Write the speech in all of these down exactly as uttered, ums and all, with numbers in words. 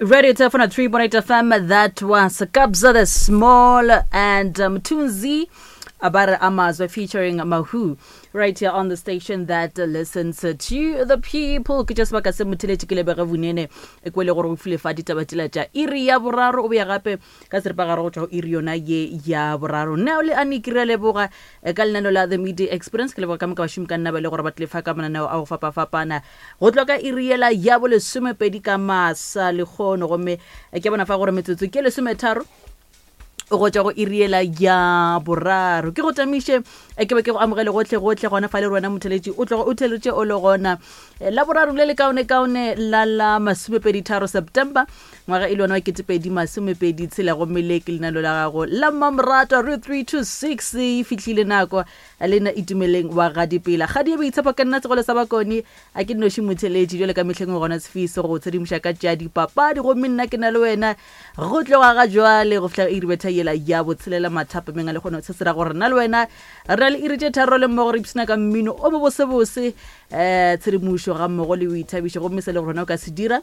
Radio Turf three point eight F M. That was Kabza De Small and um, Tunzi Abara Amazwe featuring Mahu right here on the station that uh, listens to the people. Ke tša sebaka se motheletše ke lebege bonene e kwele gore o file fa ditaba tšela tša iri ya boraro, o boya gape ka seripagare go tšwa go iri yona ye ya boraro. Nna le ane ke re leboga eh, ka lenaneo la The Media Experience. Ke leboga ka moka bašomi ka nna ba le gore ba tlile fa ka mananeo a go fapafapana go tloga ka iri yela ya bolesomepedi ka masa lekgono. Gomme eh, ke bona fa gore metsotso ke lesometharo go tšwa go iri yela ya boraro. Ke go tamiše, eh, ke be ke go amogele gotlhe gotlhe gona fa le rona motheletši o tloga o theletše o le gona. Eh, la boraro le le kaone-kaone la la masomepedi tharo September ngwaga e le yona wa ketepedi masomepedi tshela. Gomme le ke lenano la gago la mmamoratwa re three two six. E fihlile nako le nna Itumeleng wa Gadipela kgadi e boitshepo ka nna segolo sa bakone a ke nnoši motheletši jale ka mehleng gona sefiso go tshedimoša ka tša dipapadi. Gomme nna ke na le wena go tloga ga jwale go fihla iri betha yela ya botshelela mathapameng a le kgone. Se se ra gore nna le wena re na le iri tše tharo le mmogo re ipshina ka mmino o mobosebose, um tshedimošo ga mmogo le boithabišo. Gomme se le gore wena o ka se dira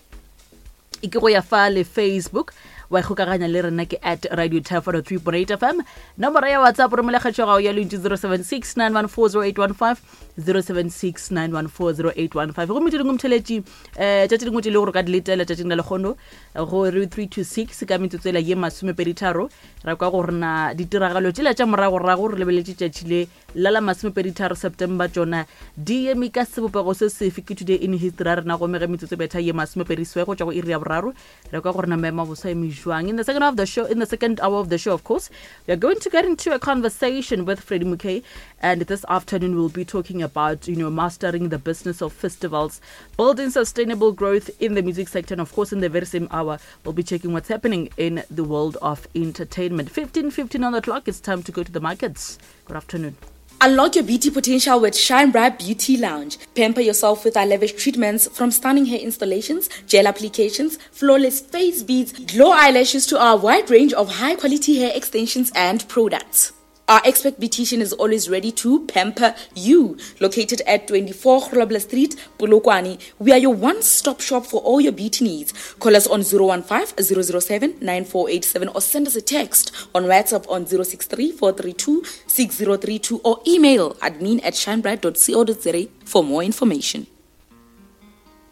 e ke go ya fa le Facebook wa ikgokaganya le rena ke at Radio Turf three point eight F M. Nomoro ya WhatsApp romela kgatšo gago ya lentšu zero seven six nine one four zero eight one five, zero seven six nine one four zero eight one five. Gomme tše dingwe motheletši, um tša tše dingwe tše le gore o ka di letela tšatšing la lekgono go re three two six ka metsotso ela ye masomepedi tharo, ra kwa gore na ditiragalo tšela tša moragorago re lebeletše tšatši le la la masomepedi tharo September tšona di eme ka sebopego se sefe, ke Today in History ya rena. Gomme ge metsotso betha ye masomepedi swe go tšwa go iri ya boraro, re kwa gore na maemo a bosa eme jwang. In the second of the show, in the second hour of the show, of course, we are going to get into a conversation with Freddie Mukay, and this afternoon we'll be talking about you know mastering the business of festivals, building sustainable growth in the music sector, and of course in the very same hour we'll be checking what's happening in the world of entertainment. fifteen fifteen on the clock. It's time to go to the markets. Good afternoon. Unlock your beauty potential with Shine Bright Beauty Lounge. Pamper yourself with our lavish treatments, from stunning hair installations, gel applications, flawless face beads, glow eyelashes to our wide range of high quality hair extensions and products. Our expert beautician is always ready to pamper you. Located at twenty-four Grobler Street, Polokwane, we are your one-stop shop for all your beauty needs. Call us on zero one five zero zero seven nine four eight seven or send us a text on WhatsApp on zero six three four three two six zero three two or email admin at shinebright dot co dot za for more information.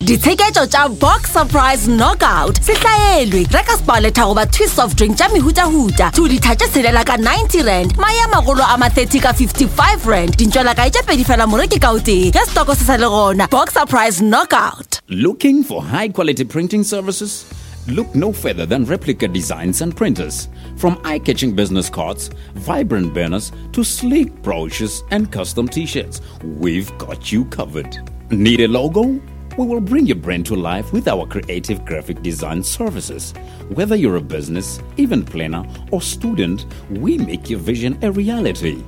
Ditsheketšo tša Box Surprise Knockout se hlaelwe. Reka Sparletta goba Twist soft drink tša mehutahuta two ditha tše tshelela ka ninety rand, mae a magolo a ma thirty ka fifty-five rand, dintšwela kae tše pedi fela moreki ka o tee ge setoko se sa le gona. Box Surprise Knockout. Looking for high quality printing services? Look no further than Replica Designs and Printers. From eye catching business cards, vibrant banners, to sleek brochures and custom t shirts, we've got you covered. Need a logo? We will bring your brand to life with our creative graphic design services. Whether you're a business, event planner, or student, we make your vision a reality.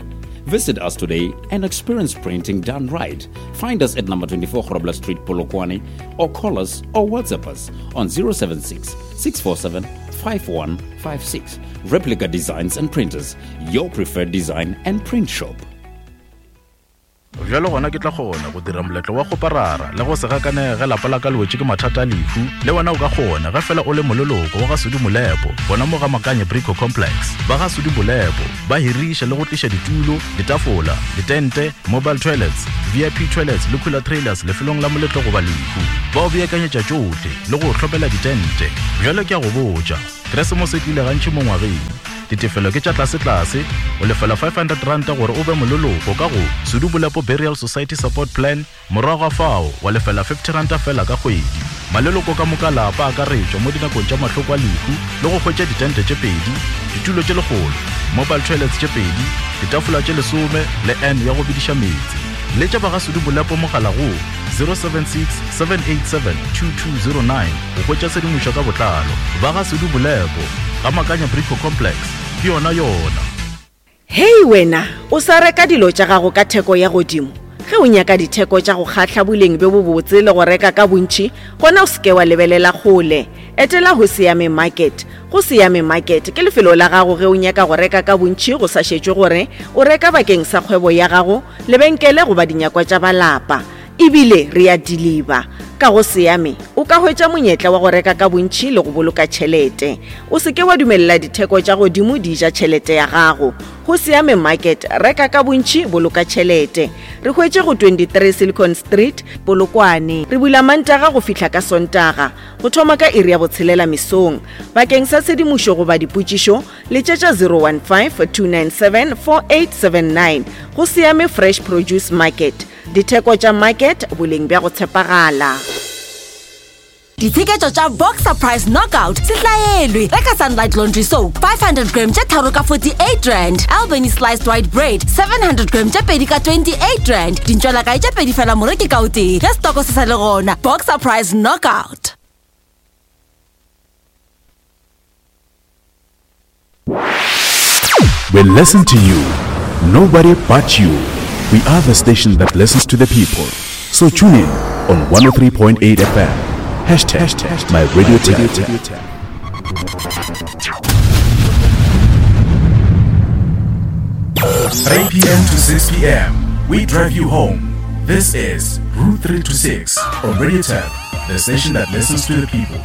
Visit us today and experience printing done right. Find us at number twenty-four Grobler Street, Polokwane, or call us or WhatsApp us on zero seven six six four seven five one five six. Replica Designs and Printers, your preferred design and print shop. Bjalo gona ke tla kgona go dira moletlo wa kgoparara le go se gakanege ge lapa la ka le wetše ke mathata a lehu. Le wena o ka kgona ge fela o le moleloko wa ga Sudi Molepo gona mo ga Makanye Brico Complex. Ba ga Sudi Molepo ba hiriša le go tliša ditulo, ditafola, ditente, mobile toilets, V I P toilets le cooler trailers lefelong la moletlo goba lehu. Ba o beakanyetša tšohle le go hlopela ditente. Bjalo ke a go botša, Keresemose e tlile gantši mo ngwageng. Ditefelo ke tša tlasetlase, o lefela five hundred ranta gore o be moleloko ka go Sudu Bolepo Burial Society Support Plan. Morago ga fao wa lefela fifty ranta fela ka kgwedi. Maleloko ka moka lapa akaretšwa mo dinakong tša mahloko a lehu le go hwetša ditente tše pedi, ditulo tše lekgolo, mobile toilets tše pedi, ditafola tše lesome le n ya go bediša meetse. Letša ba ga Sudu Bolepo mogala go zero seven six seven eight seven two two zero nine go hwetša tshedimošo ka botlalo. Ba ga Sudu Bolepo ga Makanya Brico Complex ke yona yona. Hei wena, o sa reka dilo tša gago ka theko ya godimo? Ge o nyaka ditheko tša go kgahla, boleng bjo bobotse le go reka ka bontši, gona o seke wa lebelela kgole. Etela go Siame Market. Go Siame Market ke lefelo la gago ge o nyaka go reka ka bontši, go sa šetšwe gore o reka bakeng sa kgwebo ya gago, lebenkele goba dinyakwa tša balapa. Ebile re ya deliver. Ka go Seame o ka hwetša monyetla wa go reka ka bontši le go boloka tšhelete. O se ke wa dumelela ditheko tša godimo di ja tšhelete ya gago. Go Seame Market, reka ka bontši, boloka tšhelete. Re hwetše go twenty-three Silicon Street, Polokwane. Re bula Mantaga go fihla ka Sontaga, go thoma ka iri ya botshelela mesong. Bakeng sa tshedimošo goba dipotšišo, letšetša zero one five, two nine seven, four eight seven nine. Go Seame Fresh Produce Market. Ditheko tša market, boleng bja go tshepagala. Ditsheketšo tša Boxer Price Knockout se hlaelwe. Reka Sunlight Laundry Soap five hundred gram tše tharo ka forty-eight rand. Albany Sliced White Bread seven hundred gram tše pedi ka twenty-eight rand. Dintšwelakae tše pedi fela moreki ka o tee. Ge stoko se sa le gona. Boxer Price Knockout. We listen to you. Nobody but you. We are the station that listens to the people. So tune in on one oh three point eight F M. Hashtag, Hashtag my radio tap. three P M to six P M. We drive you home. This is Route three to six on Radio Tap, the station that listens to the people.